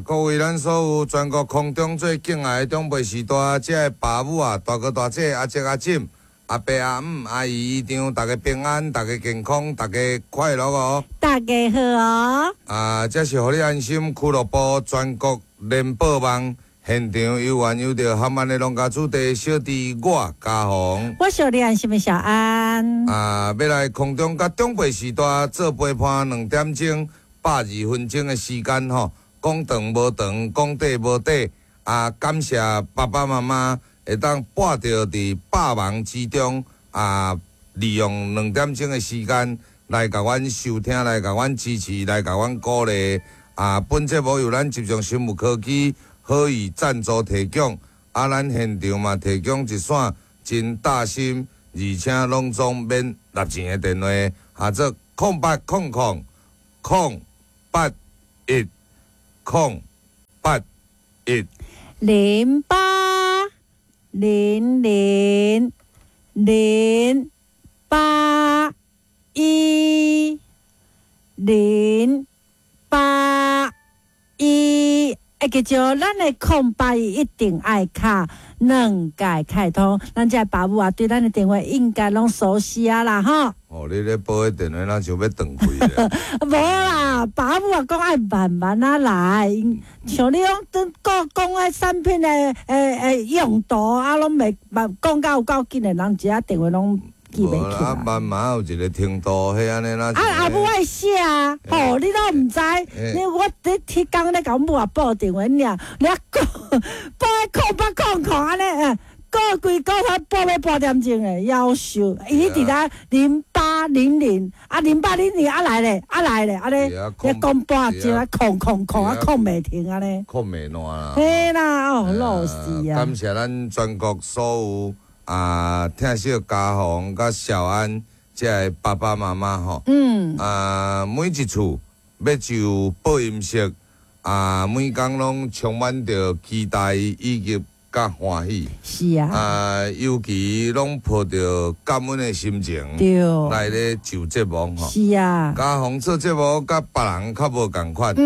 各位咱所有全國空中最敬愛的長輩序大，遮的爸母啊、大哥大姐、阿叔阿嬸、阿伯阿姆、阿姨姨丈，大家平安，大家健康，大家快樂哦！大家好哦！啊，這是予你安心俱樂部全國聯播網現場有緣有著含安的農家子弟小弟我嘉宏，我是你安心的小安。啊，欲來空中佮長輩序大做陪伴2點鐘120分鐘的時間吼。講長無長，講短無短，啊！感謝爸爸媽媽會當撥著佇百忙之中啊，利用2點鐘的時間來共阮收聽，來共阮支持，來共阮鼓勵。啊！本節目由咱集中生物科技好意贊助提供，啊，咱現場嘛提供一線真貼心，而且攏總免納錢的電話，號做0800 081 081 0800 081 081。會記著，咱的空八一一定愛敲兩屆開通，咱這爸母啊，對咱的電話應該攏熟悉啊啦吼。哦，你咧報彼電話，若像欲斷氣咧。無啦，爸母啊講愛慢慢仔來，像你講講講彼產品的用途啊，攏袂講甲有夠緊的，人一下電話攏記袂起來。啊，慢慢有一個程度，彼按呢啦。啊，阿母愛寫啊，吼，你攏毋知，你我佇彼工咧共阮母啊報電話，爾你啊講報彼0800按呢，過規個才報欲半點鐘的，夭壽，伊佇咧0800啊，0800啊來咧，啊來咧，按呢，你講半鐘啊，空空空啊，空袂停按呢，空袂爛啦。嘿啦，哦，老死啊！感謝咱全國所有啊，疼惜嘉宏佮小安這个爸爸媽媽吼，啊，每一次欲就播音室啊，每工攏充滿著期待以及佮歡喜。是啊。啊，尤其攏抱著感恩的心情，來咧就節目吼。是啊。嘉宏做節目佮別人較無仝款。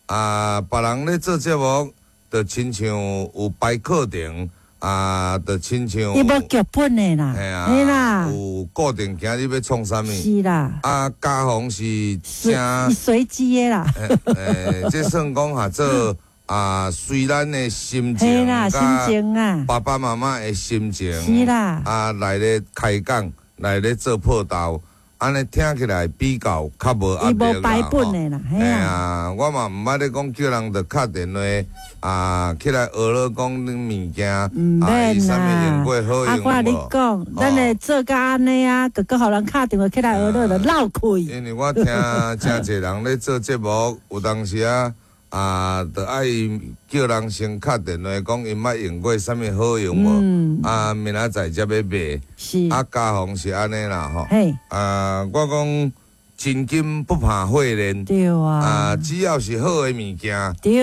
啊，別人咧做節目，就親像有排課程。啊，就親像伊無劇本的啦，嘿啊，有固定今日欲創啥物？是啦。啊，嘉宏是真隨機的啦。欸，這算講哈做啊，隨咱的心情，心情啊，爸爸媽媽的心情，是啦。啊，來咧開講，來咧做報道，按呢聽起來比較較無壓力啦。伊無排本的啦，嘿啊，我嘛毋捌咧講叫人著敲電話啊，起來學咧講恁物件，毋免啦。啊，我共你講，咱會做甲按呢啊，閣閣予人敲電話起來學咧就鬧開。因為我聽誠濟人咧做節目，有當時啊啊，著愛叫人先敲電話講𪜶捌用過啥物好用無？啊，明仔載才欲賣。是。啊，嘉宏是按呢啦吼。啊，我講真金不怕火煉。對啊。啊，只要是好的物件。啊，你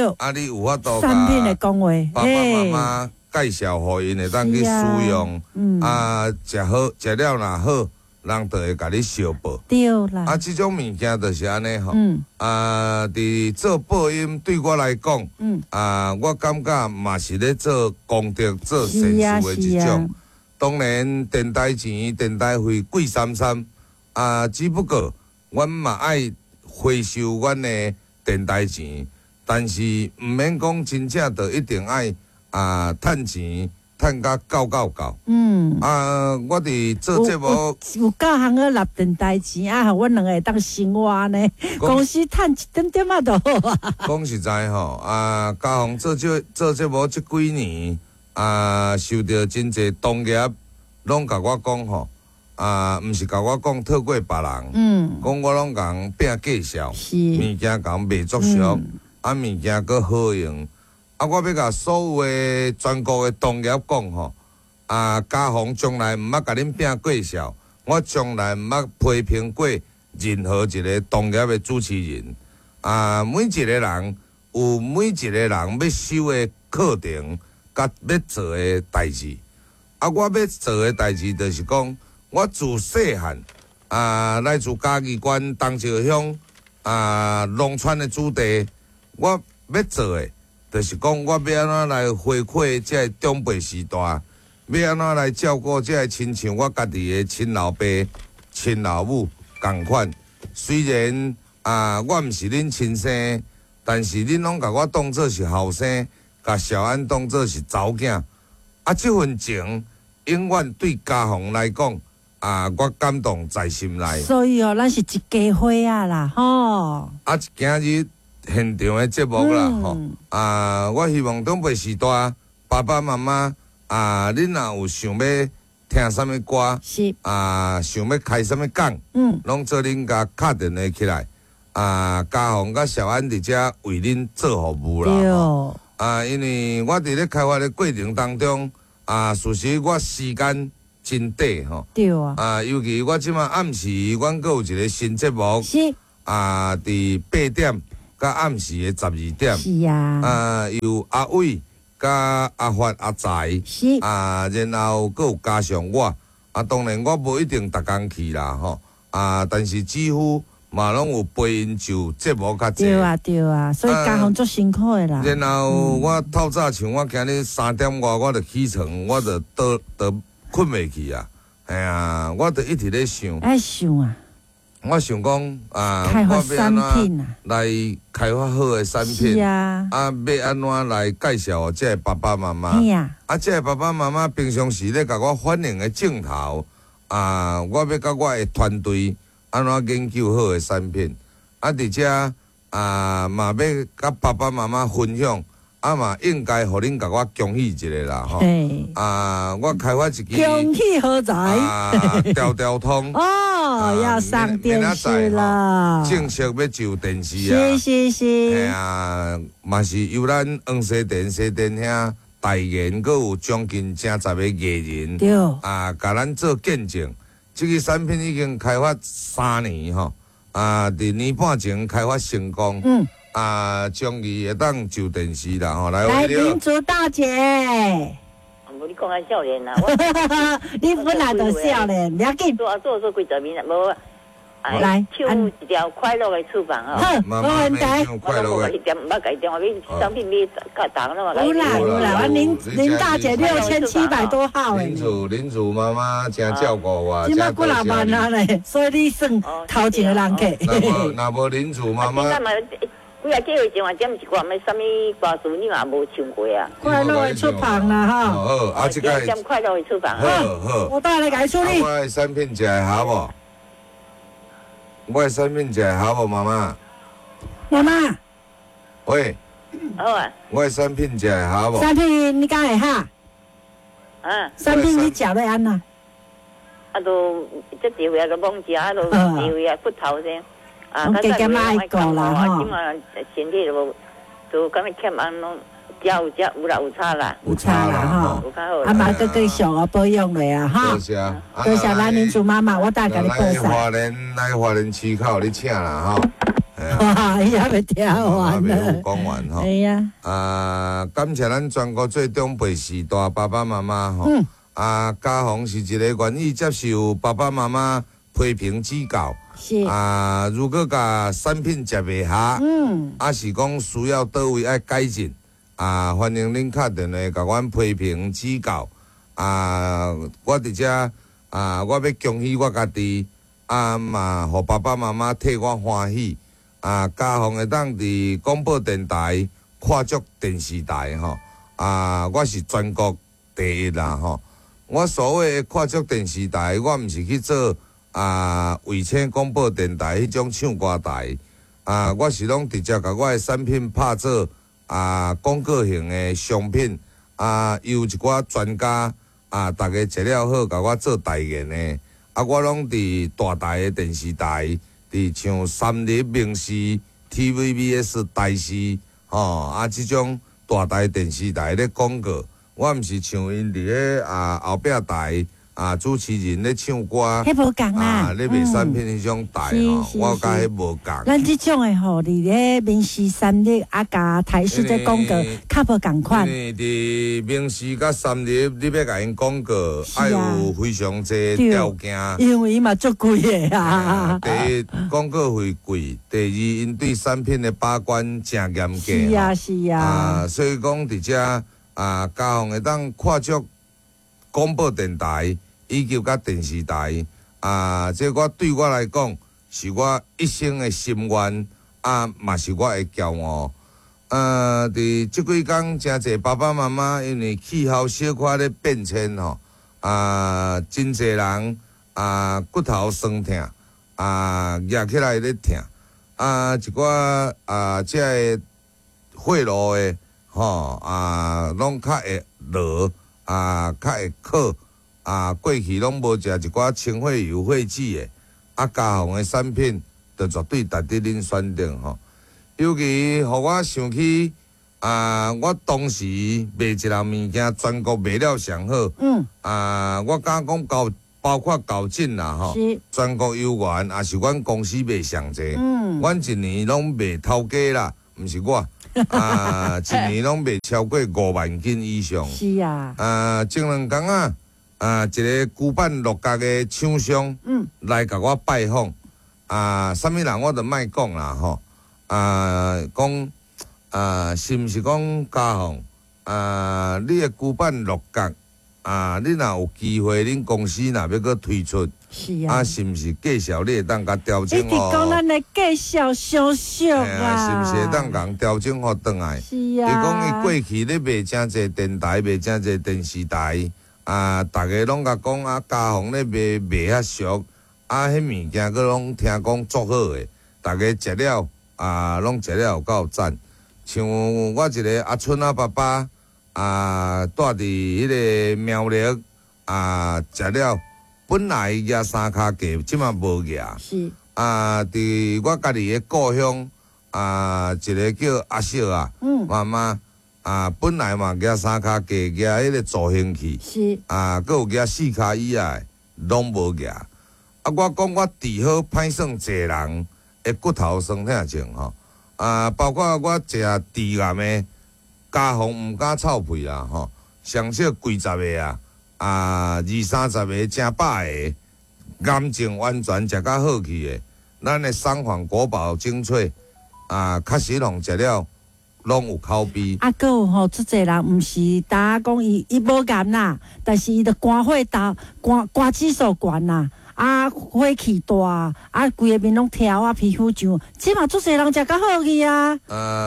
有法度產品的講話，爸爸媽媽介紹予𪜶會當去使用。啊，食好食了若好，人就會共你相報。對啦。啊，這種物件就是按呢吼。啊，佇做播音對我來講，啊，我感覺嘛是咧做功德、做善事的一種。當然，電台錢、電台費貴參參，啊，只不過阮嘛愛回收阮的電台錢，但是毋免講真正就一定愛啊趁錢。趁甲夠夠夠。啊，我佇做節目有夠通去納電台錢啊，予阮兩個會當生活呢。公司趁一點點仔就好啊。講實在吼，啊，嘉宏做節目這幾年，啊，受著真濟同業攏共我講吼，啊，毋是共我講透過別人，講我攏共人拼介紹，物件共賣足俗，啊，物件閣好用。啊！我欲共所有的全國的同業講吼，啊，嘉宏從來毋捌共恁拼介紹，我從來毋捌批評過任何一個同業的主持人。啊，每一個人有每一個人欲修的課程，佮欲做的代誌。啊，我欲做的代誌就是講，我自細漢啊，來自嘉義縣東石鄉啊，農村的子弟，我欲做的。就是講我欲按怎來回饋這个長輩時代，欲按怎來照顧這个親像我家己的親老爸、親老母仝款。雖然啊，我毋是恁親生，但是恁攏共我當做是後生，共小安當做是查某囝。啊，這份情永遠對家鳳來講，啊，我感動在心內。所以哦，咱是一家伙仔啦，吼。啊，今日現場的節目啦，吼，啊，我希望長輩時代爸爸媽媽啊，恁若有想欲聽啥物歌，啊，想欲開啥物講，攏做恁共敲電話起來，啊，家鳳佮小安佇遮為恁做服務啦。啊，因為我佇咧開發的過程當中，啊，事實我時間真短吼。啊，尤其我這馬暗時，阮閣有一個新節目。啊，佇8點佮暗時的12點。啊，由阿偉佮阿發阿財。啊，然後閣有加上我。啊，當然我無一定逐工去啦，吼。啊，但是幾乎嘛攏有陪𪜶上節目較濟。對啊對啊，所以家鳳足辛苦的啦。然後我透早像我今日3點外我就起床，我就倒倒睏袂去啊。嘿啊，我就一直咧想。愛想啊。我想講啊，開發產品啊，來開發好的產品。啊，欲按怎來介紹予這个爸爸媽媽？啊，這个爸爸媽媽平常時咧共我反映的鏡頭啊，我欲佮我的團隊按怎研究好的產品？啊，佇遮啊，嘛欲佮爸爸媽媽分享，啊嘛應該予恁共我恭喜一下啦，吼！啊，我開發一支恭喜何在？啊，條條通哦，要上電視了，正式欲上電視啊！是是是，嘿啊，嘛是由咱黃西田西田兄代言，閣有將近成十個藝人，啊，共咱做見證。這個產品已經開發3年吼，啊，佇年半前開發成功，啊，終於會當上電視啦吼！來，來，民族大姐，無你講較少年啦，你本來就少年，不要緊。做做做幾十年啦，無。來，唱一條快樂的翅膀吼。好，無問題。快樂的。毋捌共電話買商品買較重啦嘛。有啦有啦，我林大姐6700多號林主林主媽媽真照顧我。這馬幾若萬啊咧，所以你算頭前的人客。若無林主媽媽。幾啊幾歲前嘛，點一寡咩啥物歌詞，你嘛無唱過啊？快樂的翅膀啦，吼。好，啊，這個。點快樂的翅膀。好好。我帶來共處理。我的產品食會合無？我的產品食會合無，媽媽？媽媽。喂。好啊。我的產品食會合無？產品你敢會合？啊。產品你食欲按怎？啊，都這一歲啊，都罔食，啊，都一歲啊，骨頭先。啊，較減減愛顧啦吼。這馬身體都都感覺欠安攏食有食有啦有差啦。有差啦吼。有較好。啊嘛，閣繼續哦保養落啊哈。多謝。多謝咱林主媽媽，我等共你報數。來花蓮，來花蓮市口你請啦吼。哇，伊猶未聽完呢。猶未講完吼。哎呀。啊，感謝咱全國做長輩時代爸爸媽媽吼。啊，家鳳是一個願意接受爸爸媽媽批評指教。是啊，如果共產品食袂合，啊是講需要佗位愛改進，啊，歡迎恁敲電話共阮批評指教。啊，我佇遮啊，我欲恭喜我家己，啊嘛，予爸爸媽媽替我歡喜。啊，家鳳會當佇廣播電台跨足電視台吼，啊，我是全國第一啦吼。我所謂的跨足電視台，我毋是去做。啊，衛星廣播電台彼種唱歌台，啊，我是攏直接共我的產品拍做啊廣告型的商品，啊，由一寡專家啊，逐家食了好，共我做代言的，啊，我攏佇大台的電視台，佇像三立、民視、TVBS、台視，吼，啊，這種大台電視台咧廣告，我毋是像𪜶佇咧啊後壁台。啊主持人咧唱歌，彼無仝啦，啊咧賣產品彼種台吼，我佮彼無仝。咱這種的吼，佇咧民視三立啊，佮台視這廣告較無仝款。因為佇民視佮三立，你欲共𪜶廣告，愛有非常濟條件。因為伊嘛足貴的啊。第一，廣告費貴；第二，𪜶對產品的把關誠嚴格。是啊，是啊。啊，所以講佇遮啊，嘉宏會當跨足廣播電台以及佮電視台啊，這我對我來講是我一生的心願啊，嘛是我的驕傲。佇這幾工，誠濟爸爸媽媽因為氣候小可咧變遷吼，啊，真濟人啊骨頭酸疼啊，夯起來咧疼啊，一寡啊，這个血路的吼啊，攏較會落啊，較會渴啊，過去攏無食一寡清血油、血脂的，啊，嘉宏的產品就絕對值得恁選擇吼。尤其予我想起啊，我當時賣一項物件，全國賣了上好。啊，我敢講到包括厚進啦吼，全國猶原也是阮公司賣上濟。阮一年攏賣頭家啦，毋是我。啊，一年攏賣超過5萬斤以上。是啊。啊，前兩工啊，啊，一个古板鹿角的廠商，來共我拜訪。啊，啥物人我就莫講啦吼。啊，講啊，是毋是講嘉宏？啊，你的古板鹿角啊，你若有機會，恁公司若欲閣推出，是啊，啊，是毋是介紹你會當共調整？一直講咱的介紹相熟啊，是毋是會當共調整予轉來？是啊。伊講伊過去咧賣誠濟電台，賣誠濟電視台，啊，逐家攏共講啊，嘉宏咧賣賣較俗，啊，彼物件閣攏聽講足好的，逐家食了啊，攏食了有夠讚。像我一个阿春仔爸爸啊，住佇彼个苗栗啊，食了本來舉三跤雞，這馬無舉。是。啊，佇我家己的故鄉啊，一个叫阿小啊，媽媽啊，本來嘛舉三跤雞，舉彼个助興器。是。啊，閣有舉四跤椅仔的，攏無舉。啊，我講我治好歹算濟人的骨頭酸痛症吼。啊，包括我食致癌的，嘉宏毋敢臭屁啦吼，上少幾十个啊，啊二三十个成百个，癌症完全食甲好去的，咱的三環國寶精粹啊，確實攏食了攏有口碑。啊，閣有吼，足濟人毋是焦講伊無癌啦，但是伊著肝火大，肝指數懸啦。啊，火氣大，啊，規个面攏跳啊，皮膚上，這嘛足濟人食較好去啊。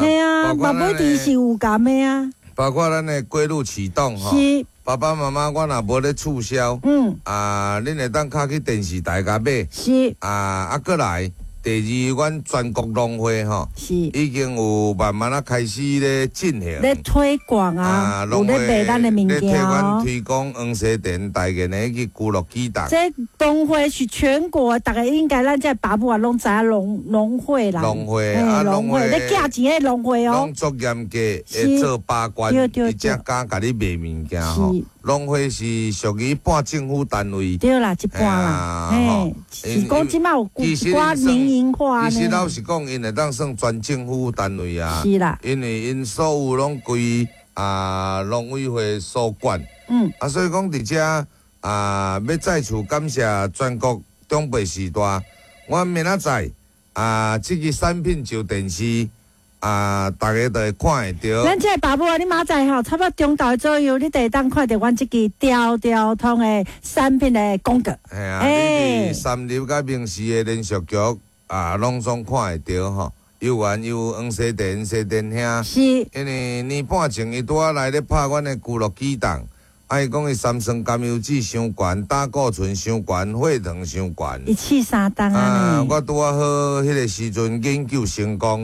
嘿啊，嘛無一定是有癌的啊。包括咱的龜鹿啟動吼，爸爸媽媽，我若無咧促銷，啊，恁會當敲去電視台共買，啊，閣來。第二，阮全國農會吼，已經有慢慢仔開始咧進行，咧推廣啊，有咧賣咱的物件，咧替阮推廣黃西田代言的彼個龜鹿啟動。這農會是全國，逐家應該咱這爸母啊，攏知影農會啦。農會啊，農會咧寄錢的農會哦。攏足嚴格，會做把關，伊才敢共你賣物件吼。農會是屬於半政府單位。對啦，一半啦，嘿，是講這馬有一寡民營化。其實老實講，𪜶會當算全政府單位啊。是啦。因為𪜶所有攏歸啊農委會所管。啊，所以講佇遮啊，欲再次感謝全國長輩時代，我明仔載啊，這个產品上電視。啊！逐家都會看會著。咱這个爸母啊，你明仔載吼，差不多中晝左右，你就會當看著阮這支條條通的產品的廣告。嘿啊，你佇三立佮民視的連續劇啊，攏總看會著吼。猶原有黃西田、西田兄。因為年半前，伊拄仔來咧拍阮的龜鹿啟動，啊，伊講伊三酸甘油酯傷懸，膽固醇傷懸，血糖傷懸。一氣三重啊！我拄仔好彼个時陣研究成功。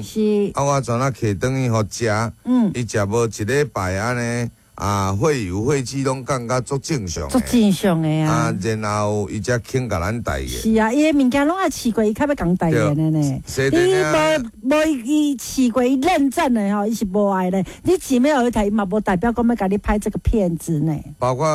啊，我轉仔提轉去予食。伊食無一禮拜按呢，啊，啊，會友會姊攏感覺足正常足的。正常的啊啊，。然後伊才肯共咱代言。是啊，伊的物件攏愛試過，伊較欲共代言的呢。對你無無伊試過，伊認證的吼，伊是無愛的。你錢欲予伊提，伊嘛無代表講欲共你拍這個片子呢。包括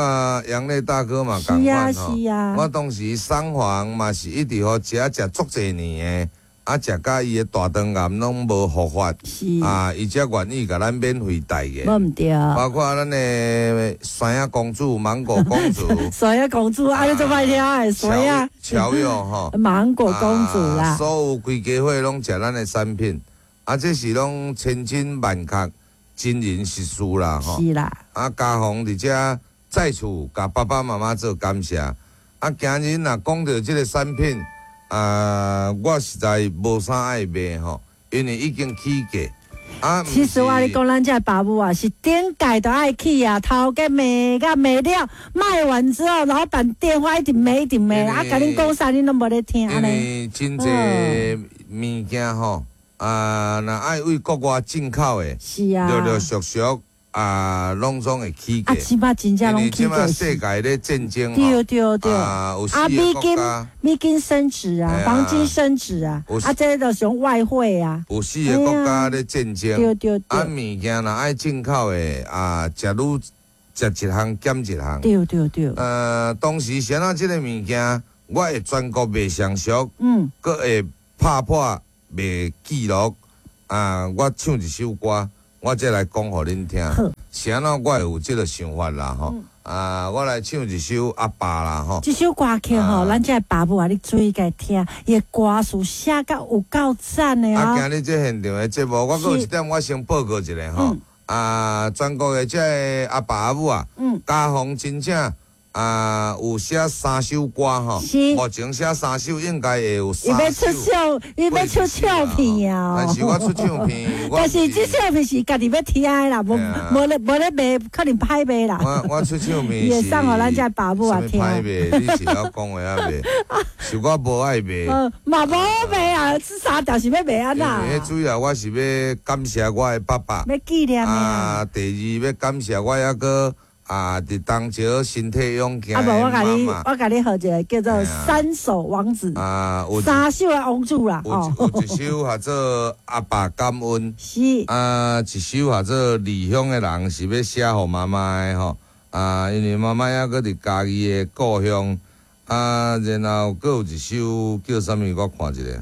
楊磊大哥嘛，是啊仝款吼。是啊我當時送房嘛是一直予食食足濟年的，啊，食甲伊的大腸癌攏無復發，是，啊，伊才願意共咱免費代言。無毋對。包括咱的山仔公主、芒果公主、山仔公主，啊，你做歹聽的，山仔喬喬友吼。芒果公主啦啊，所有規家伙攏食咱的產品，啊，這是攏千真萬確、真人實事啦吼。是啦，啊，家訪佇遮再次共爸爸媽媽做感謝。啊，今日若講著這个產品，啊，我實在無啥愛賣吼，因為已經起價。啊，其實我共你講，咱這爸母啊，是頂屆都愛去啊，頭家罵甲罵了，賣完之後，老闆電話一直罵一直罵，啊，共恁講啥，恁攏無咧聽因按呢。為真濟物件吼，啊，若愛對國外進口的，是啊，陸陸續續啊，攏總會起啊，價。這擺真正因為攏起這擺價世界咧戰爭對吼，對對，啊，有四啊，個美金國家，美金升值啊嘿，啊黃金升值啊有，啊，這就是用外匯啊，有四个國家咧戰爭。對對啊，對，物件若愛進口的啊，食愈食一項減一項。對對對，當時啥仔這个物件，我會全國賣上俗，閣會拍破賣紀錄。啊，我唱一首歌，我再來講予恁聽。好，是按怎我會有這个想法啦吼？啊，我來唱一首阿爸啦吼。這首歌曲吼，啊咱這爸母啊，你注意共聽，伊的歌詞寫甲有夠讚的啊，哦。今日這現場的節目，我閣有一點，我先報告一下吼。啊，全國的這个阿爸阿母啊，家訪真正啊有寫三首歌吼。是目前寫三首應該會有伊三欲出首。唱，伊欲出唱片啊！但是我出唱片，我但是這唱片是家己欲聽的啦，無嘿啊無咧無咧賣，可能歹賣啦。我出唱片伊會是送予咱這爸母啊聽啥物歹賣，你是曉講話啊賣？是我無愛賣。嘛無賣啊，這三條是欲賣按因怎？為主要我是欲感謝我的爸爸。欲紀念的啊，啊。第二欲感謝我抑閣啊，佇東石身體勇健啊的無，我共你，媽媽。我共你號一个叫做嘿啊三首王子，啊，有一三首的王子啦。有哦，有一首叫做阿爸感恩，是，啊，一首叫做離鄉的人是欲寫予媽媽的吼，啊，因為媽媽猶閣佇家己的故鄉，啊，然後閣有一首叫啥物？我看一下。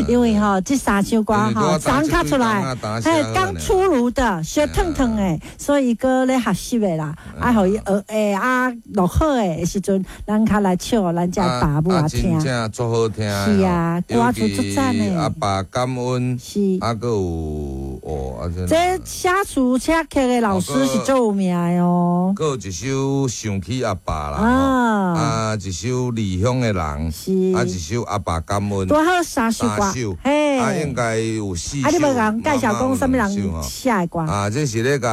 因為吼，這三首歌吼，昨較出來，嘿，剛出爐的，燒燙燙的，所以閣咧學習的啦，啊，予伊學的啊，錄好的時陣，咱較來唱予咱這爸母啊聽真。正足好聽的。是啊歌詞足讚的阿爸感恩，是，啊，閣有哦，啊，這寫詞寫曲的老師是足有名的哦。閣有一首想起阿爸啦，啊，啊，一首離鄉的人，是，啊，一首阿爸感恩，拄好三首歌三首，嘿，啊，應該有四首。啊，你無共介紹講啥物媽媽有人兩首吼寫的歌？啊，這是咧共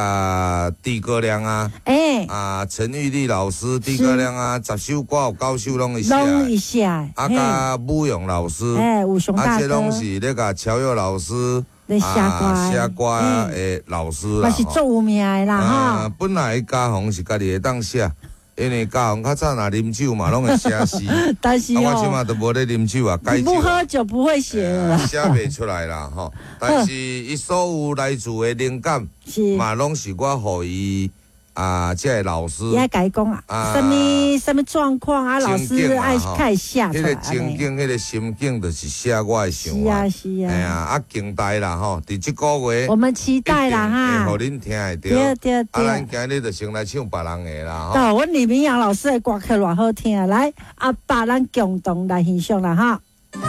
豬哥亮啊，欸，啊，陳玉麗老師，豬哥亮啊，10首歌有九首攏伊寫攏的，伊寫的，啊，佮武勇老師，嘿，武雄啊，大哥這攏是咧共喬佑老師咧寫歌啊，的，寫歌的老師啦嘛是足有名的啦啊吼。，本來家訪是家己會當寫，因為家訪較早若啉酒嘛，攏會寫詩。但是啊，我這哦，馬都無咧啉酒啊，改你不酒啊喝酒不會寫了啦，寫袂出來啦吼。但是伊所有來自的靈感，是。嘛攏是我予伊啊，這个老師伊愛共伊講啊，啊啥物啥物狀況啊，老師愛較會寫出彼个來。情景，彼个心境，就是寫我的想是法。啊是嘿啊，啊，啊，期待啦吼，佇這个月我們期待啦哈。會予恁聽會對著。對啊，咱對。今日就先來唱別人的啦吼。哦，阮李明陽老師的歌曲偌好聽，來，阿爸，咱共同來欣賞啦哈。